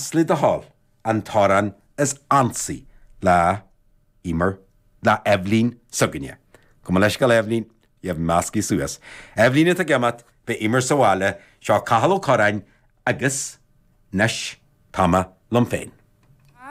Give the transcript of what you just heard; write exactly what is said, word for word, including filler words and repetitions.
Más le do thoil, an t-amhrán is ansaí le Emer, le Eibhlín s'againne. Gabh mo leithscéal Eibhlín, bhí measctha suas. Eibhlín atá ag imeacht, beidh Emer sa bhaile, seo Cathal Ó Curráin agus anois tá mé liom féin.